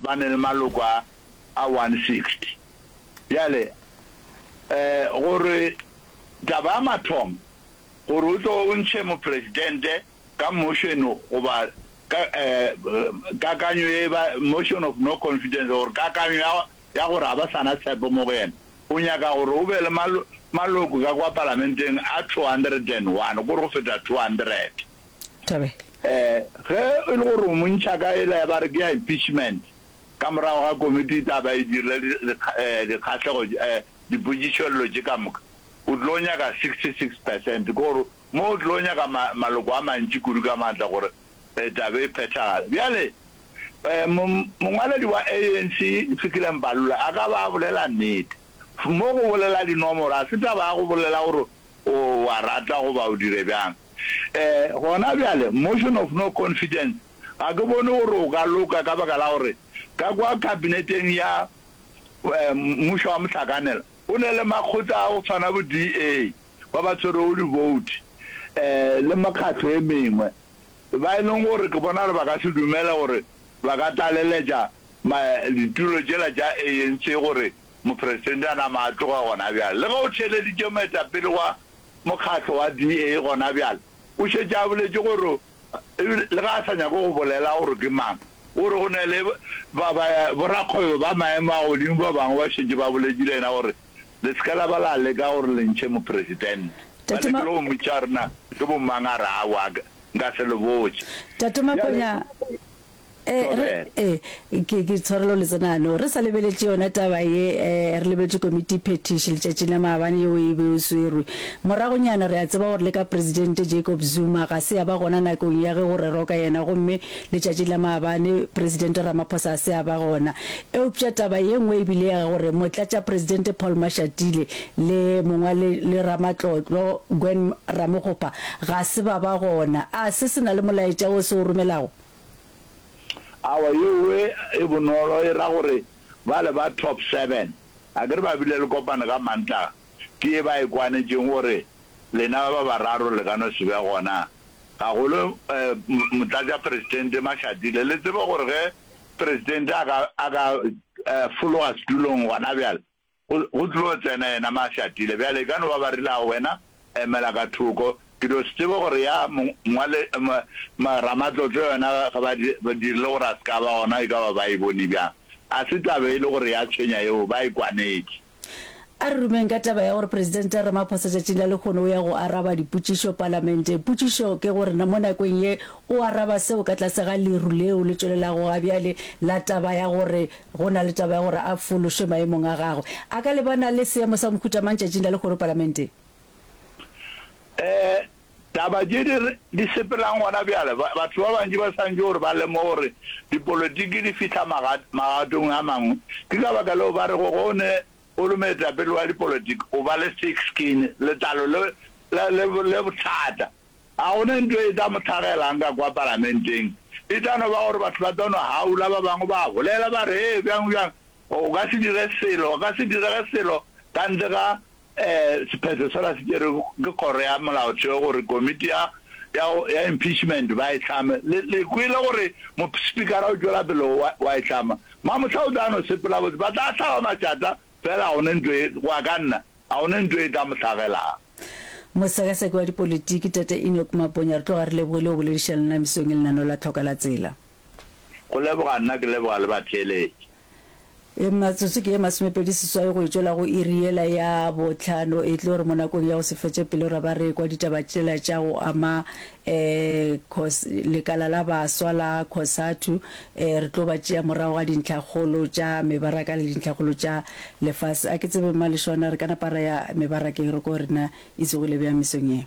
ba ne le maloko a a 160. Bjale um gore taba ya mathomo gore o tlo o ntšhe mopresidente ka motion goba ka um kakanyo ye ba motion of no confidence gore kakanyo ya ya gore ga ba sa na tshepo mo go yena, o nyaka gore o be le maloko ka kwa palamenteng a 201, kore go feta 200. Thabela. Ge e le gore o mo ntšha ka yela ya ba re ke ya impeachment, ka morago ga komiti e tla ba e dirile dikgahlego, dipotšišollo tše ka moka, o tlo nyaka 66 percent, ke gore mo o tlo nyaka maloko a mantši kudu ka maatla gore taba e phethagale. Bjale, mongwaledi wa ANC, Fikile Mbalula, a ka ba a bolela nnete. Mo go bolela dinomoro, ga se taba ya go bolela gore o a rata goba o dire bjang. Gona bjale, motion of no confidence, ga ke bone gore o ka loka ka baka la gore ka kwa kabineteng ya mmušo wa mohlakanelwa, go ne le makgotla a go tshwana bo DA ba ba tshwerego di-vote le mekgatlo e mengwe. Ba e leng gore ke bona gore ba ka se dumele gore ba ka tlaleletša ditulo tšela tša ANC gore mopresidente a nama a tloge gona bjale. Le ge o theeleditše moetapele wa mokgatlo wa DA gona bjale, o šetše a boletše gore le ge a sa nyake go bolela gore ke mang, o re go na le borakgwebo ba maemo a godimo ba bangwe ba šetše ba boletše le yena gore Le se ke la ba la leka gore le ntšhe mopresidente. Ba Tate Ma. lekile go mmitša gore na ke bomang, a re, Aowa, nka se le botše. Tate Bjale, Maponya, eh, re, thobela. eh, ke, ke tshwarelo letsenano. Re sa lebeletše yona taba ye, eh, re lebeletše komiti phethiši letšatšing la maabane yeo e be e swerwe. Moragonyana re a tseba gore le ka Presidente Jacob Zuma ga se a ba gona nakong ya ge go rerwa ka yena gomme Letšatšing la maabane, Presidente Ramaphosa a se a ba gona. Eupša taba ye nngwe e bile ya gore Motlatšapresidente Paul Mashatile le mongwale le ramatlotlo Gwen Ramokgopa ga se ba ba gona. A se se na le molaetša wo se o romelago? Aowa, yeo e bonolo e ra gore bale ba Top Seven, akere ba bile le kopano ka Mantaga, ke ye ba e kwanetšeng gore lena ba bararo le ka no se be gona. Gagolo Motlatšapresidente Mashatile, le tsebe gore ge Presidente a ka, a ka fologa setulong gona bjale, go, go tlo tsena yena Mashatile. Bjale e ka no ba ba rile, Ao, wena emela ka thoko. Ke no se tsebe gore ya mongwale, Ramatlotlo yona ge ba, ba dirile gore a se ka ba gona, e ka ba ba e bone bjang. A se taba e le gore ya tshwenya yeo, ba e kwanetše. A re rumeng ka taba ya gore Presidente Ramaphosa tšatšing la lehono o ya go araba dipotšišo Palamenteng. Potšišo ke gore na mo nakong ye o araba seo ka tlase ga leru leo le tšwelelago ga bjale la taba ya gore go na le taba ya gore a fološwe maemong a gagwe. A ka lebana le seemo sa mohuta mang tšatšing la lehono Palamenteng? Eh, taba tše di di sepelang gona bjale, batho ba bantši ba santše gore ba lemoge gore dipolotiki di fihla magatong a mangwe. Ke ka baka leo ba rego ge o ne o le moetapele wa dipolotiki o ba le thick skin, letlalo le le le bothata. Ga go ne ntho e tla mo hlagelang ka kwa palamenteng. E tla no ba gore batho ba tla no haula, ba bangwe ba bolela ba re, Hee, bjang bjang. O ka se dire selo, go ka se direge selo ka ntle ga Sephetho sela se tšerwe ke Kgoro ya Molaotheo gore komiti ya, ya, ya impeachment ba e hlame. Le, le kwele gore Mospikara o tšwela pele wa, wa e hlama. Mamohla o tla no sepela botse. Ba tla hlaba matšata, fela ga go ne ntho e, go ya ka nna, ga go ne ntho e tla mo hlagelago. Mosekaseki wa dipolitiki, Tate Enoch Maponya, re tloga re lebogile go boledišana le nna mesong ye lenaneo la Tlhoka la Tsela. Go leboga nna, ke leboga le batheeletši. E Matsotso ke ye masomepedi seswai go e tšwela go iri yela ya bohlano. E tlo re mo nakong ya go se fetše pelo ra ba re ekwa ditaba tšela tša go ama um lekala la baswa la Cosatu. Um re tlo ba tšea morago ga dintlhakgolo tša mebaraka le dintlhakgolo tša lefase. A ke tsebe Mmalešwana re ka napa ra ya mebarakeng re ko re na e tsogile bjang mesong ye.